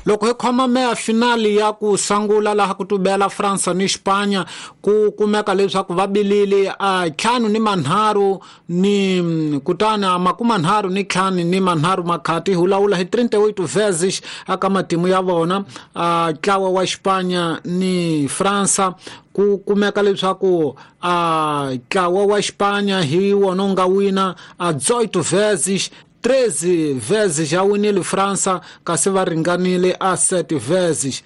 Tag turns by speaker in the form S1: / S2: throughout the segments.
S1: Loko hi khoma meya finali ya ku sangula laha ku tubela Fransa ni Xipanya, ku kumeka leswaku va bilile a 53 ni kutani a 35 ni 3 makhati, hi vulavula hi 38 vezes aka matimu ya vona. A ntlawa wa Xipanya ni Fransa, ku kumeka leswaku a ntlawa wa Xipanya hi wona wu nga wina a 18 vezes, 13 vezes ya winile Fransa, kasi va ringanile a 7 vezes.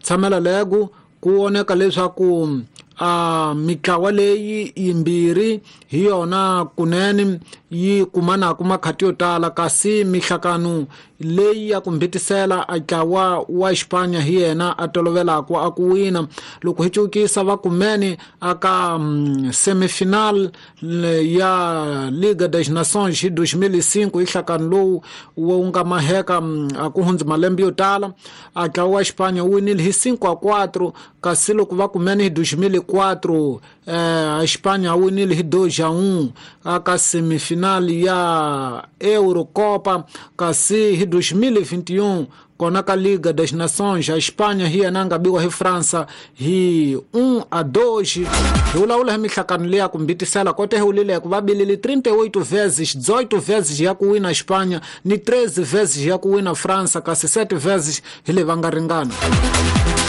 S1: Tshamela lego ku voneka leswaku a mitlawa leyi yimbirhi hi yona kunene yi kumanaka makhati yo tala, kasi mihlakano leyi ya ku mbitisela a ntlawa wa Xipanya hi yena a tolovelaka a ku wina. Loko hi cukisa va kumene aka semifinal ya Liga das Nações hi 2005, hi nhlakano lowu wu nga maheka a ku hundzi malembe yo tala, a ntlawa wa Xipanya wu winile hi 5-4, kasi loko va kumene hi 2004, Xipanya winile hi 2-1 aka semifinal ya Eurocopa, kasi hi 2021 kona ka Liga das Nações a Espanha hi yena a nga biwa hi Fransa hi 1-2. Hi vulavula hi mihlakano leyi ya ku mbitisela kote hi wulileko va bilile 38 vezes, 18 vezes ya ku wina Espanha ni 13 vezes ya ku wina Fransa, kasi 7 vezes hi leyi va nga ringana.